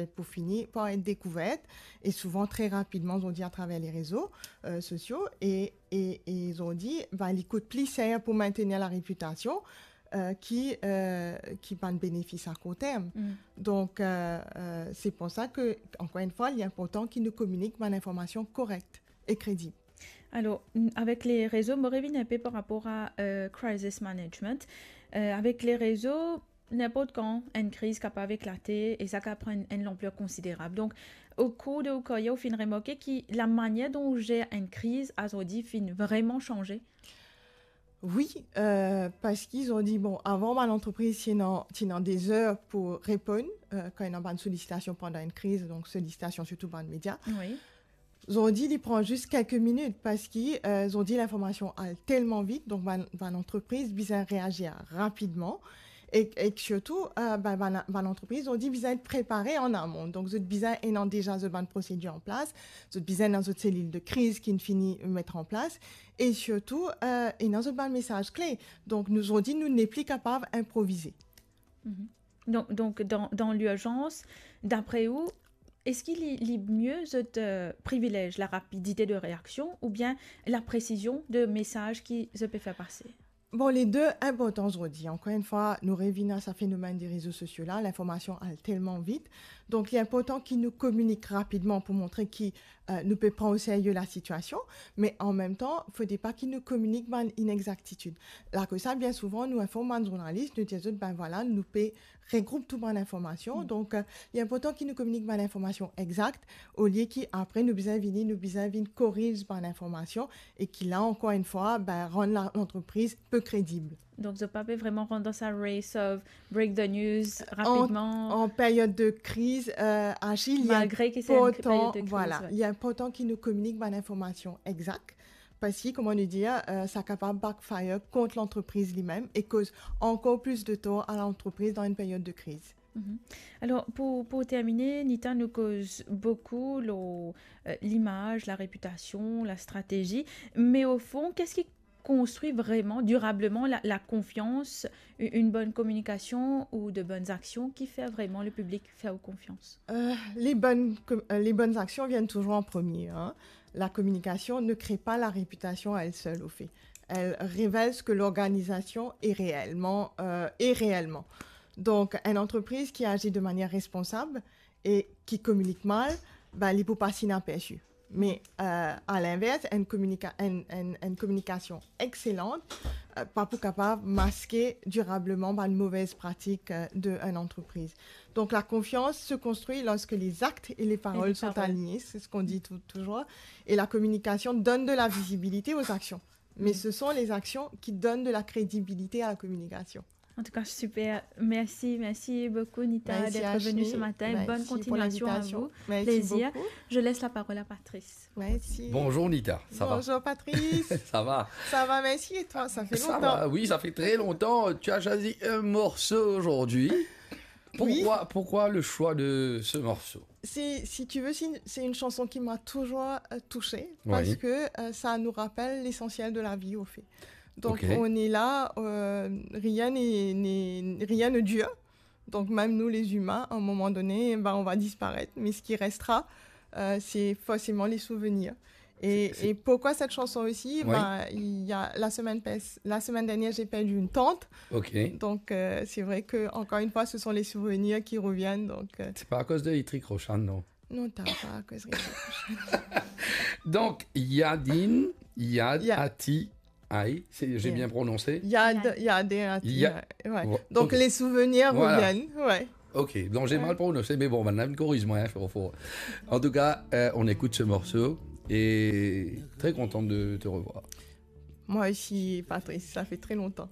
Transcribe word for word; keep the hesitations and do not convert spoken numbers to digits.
pou fini par et dekouver, e souvan tre rapidman, zordi, atraver le rezo, euh, sosio, e, e, e zordi, ben, li kout pli ser pou maintenir la repitasion, euh, ki, euh, ki bann benefis a kourt term. Mm. Donk, euh, euh, se pou sa ke, ankor enn fwa, li inportan ki nou kominik bann informasion korek e kredib. Alor, n-, avek le rezo, mo revinn inpe par rapor a, euh, crisis management. Euh, avek le rezo, ninport kan, enn kriz kapav eklate e sa kapav pran enn, enn lanpler konsiderab. Donk, o kour de ou karyer, ou finn remarke ki lamanier dont ou zer enn kriz azordi finn vreman sanze? Wi, euh, parski zordi, bon, avan, bann lantrepriz ti ena, ti ena de zer pou reponn, euh, kan ena bann solisitasion pandan enn kriz, donk solisitasion sirtou bann media. Wi. Zordi, li pran zis kelke minit parski, euh, zordi, linformasion al telman vit, donk bann, bann lantrepriz bizin reazir rapidman. E, e sirtou, euh, bann, bann, bann lantrepriz zordi bizin et prepare an amon. Donk, zot bizin ena deza zot bann prosedir an plas, zot bizin ena zot selil de kriz ki finn fini met an plas, e sirtou, euh, ena zot bann mesaz kle. Donk, nou, zordi, nou nepli kapav inprovize. Mhm. Donk, donk, dan, dan lirzans, dapre ou, eski li, li mie zot, euh, privilez larapidite de reaksion oubien lapresizion de mesaz ki zot pe fer pase? Bon, le de inportan zordi. Ankor enn fwa, nou revinn a sa fenomenn de rezo sosio la, linformasion al telman vit. Donk, li inportan ki nou kominik rapidman pou montre ki, euh, nou pe pran o serye lasitiasion, me an mem tan, fode pa ki nou kominik bann inexaktitid. Lakoz sa, bien souvan, nou inform bann zournalis, nou dir zot, ben vwala, nou pe regroup tou bann linformasion. Mm. Donk, euh, li inportan ki nou kominik bann linformasion exakt, olie ki apre nou bizin vini, nou bizin vinn koriz bann linformasion, e ki la, ankor enn fwa, ben, rann la, lantrepriz pe kredib. Donk, zot pa pe vreman rant dan sa race of break the news rapidman. An, an peryod de kriz, euh, Achille, li inportan, vwala, li inportan ki nou kominik bann linformasion exakt, parski, kouma nou dir, euh, sa kapav backfire kont lantrepriz limem e koz ankor plis de tor a lantrepriz dan enn peryod de kriz. Mhm. Alor, pou, pou termine, Nita, nou koz boukou lor, euh, limaz, larepitasion, lastratezi, me o fon, kisa ki konstri vreman, dirableman, la, lakonfians, u-, enn bonn kominikasion ou de bonn aksion ki fer vreman lepiblik fer ou konfians? Euh, les bonnes com-, euh, les bonnes actions viennent toujours en premier, hein. La communication ne crée pas la réputation à elle seule, au fait. Elle révèle ce que l'organisation est réellement, euh, est réellement. Donk, enn antrepriz ki azir de manier responsab e ki kominik mal, ben, li pou pas inapersi. Me, euh, a linvers, enn kominika-, enn, enn, enn kominikasion exselant, euh, pa pou kapav maske dirableman bann move pratik, euh, de enn antrepriz. Donc, la confiance se construit lorsque les actes et les paroles sont alignés, c'est ce qu'on dit tou-, toujours. Et la communication donne de la visibilité aux actions. Mais ce sont les actions qui donnent de la crédibilité à la communication. En tout cas, super. Merci, merci beaucoup, Nita, d'être venue ce matin. Bonne continuation à vous. Merci pour l'invitation. Merci beaucoup. Plaisir. Je laisse la parole à Patrice. Merci. Bonjour, Nita. Ça va ? Bonjour, Patrice. Ça va ? Ça va, merci. Et toi, ça fait longtemps. Ça va, oui, ça fait très longtemps. Tu as choisi un morceau aujourd'hui. Oui. Pourquoi, pourquoi le choix de ce morceau ? C'est, si tu veux, c'est une, c'est une chanson qui m'a toujours, euh, touchée parce que, euh, ça nous rappelle l'essentiel de la vie, au fait. Donc, on est là, euh, rien n'est, n'est, rien ne dure. Donc, même nous, les humains, à un moment donné, ben, on va disparaître. Mais ce qui restera, euh, c'est forcément les souvenirs. Et, et pourquoi cette chanson aussi ? Ben, il y a la semaine pas-, la semaine dernière, j'ai perdu une tante. Ok. Donc, euh, c'est vrai que, encore une fois, ce sont les souvenirs qui reviennent, donc, euh. C'est pas à cause de Itrik Roshan, non ? Non, t'as pas à cause de Itrik Roshan. Donc, Yadin, Yad, Ati, Aïe, c'est, j'ai bien prononcé ? Yad, Yad. Yad et Ati, ouais. Donc, les souvenirs reviennent, ouais. Ok, donc j'ai mal prononcé, mais bon, maintenant, corrige-moi, hein, fort, fort. En tout cas, euh, on écoute ce morceau et très content de te revoir. Moi aussi, Patrice, ça fait très longtemps.